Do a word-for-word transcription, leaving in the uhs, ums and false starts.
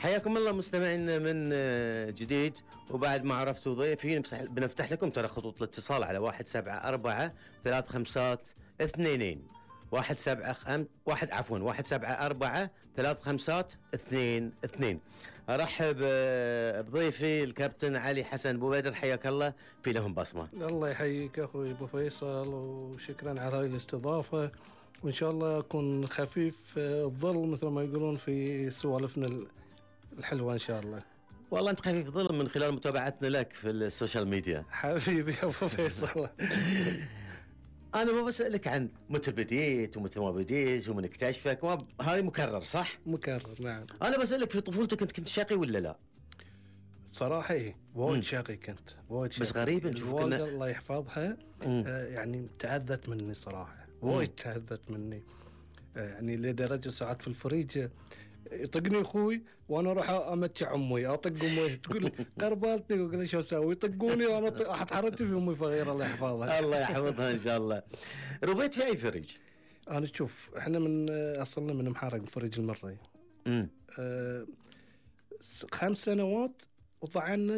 حياكم الله مستمعينا من جديد. وبعد ما عرفتوا ضيفين بنفتح لكم ترى خطوط الاتصال على واحد سبعة أربعة ثلاث خمسات اثنين واحد سبعة خم... واحد عفوا واحد سبعة أربعة ثلاث خمسات اثنين اثنين. أرحب بضيفي الكابتن علي حسن بوبيدر، حياك الله في لهم بصمة. الله يحييك أخوي أبو فيصل، وشكرا على هاي الاستضافة، وإن شاء الله أكون خفيف الظل مثل ما يقولون في سوالفنا الحلوة إن شاء الله. والله أنت خفيف ظل من خلال متابعتنا لك في السوشيال ميديا حبيبي أبو فيصل. أنا ما بسألك عن متى بديت ومتى ما بديت ومن اكتشفك، هذه مكرر صح؟ مكرر نعم. أنا بسألك في طفولتك كنت كنت شقي ولا لا؟ بصراحة إيه وايد شقي كنت وايد شقي. بس غريب نشوف كنا الله يحفظها آه يعني تأذت مني صراحة، وايد تأذت مني آه يعني لدرجة ساعات في الفريج يطقني اخوي وانا اروح امتع امي، اطق امي تقول قربالتني، اقول شو اسوي؟ يطقوني وانا احط حرتي في امي فغيره الله يحفظها. الله يحفظها ان شاء الله. ربيت في اي فريج؟ انا شوف احنا من اصلنا من محارق فريج المري. امم آه خمس سنوات وطعنا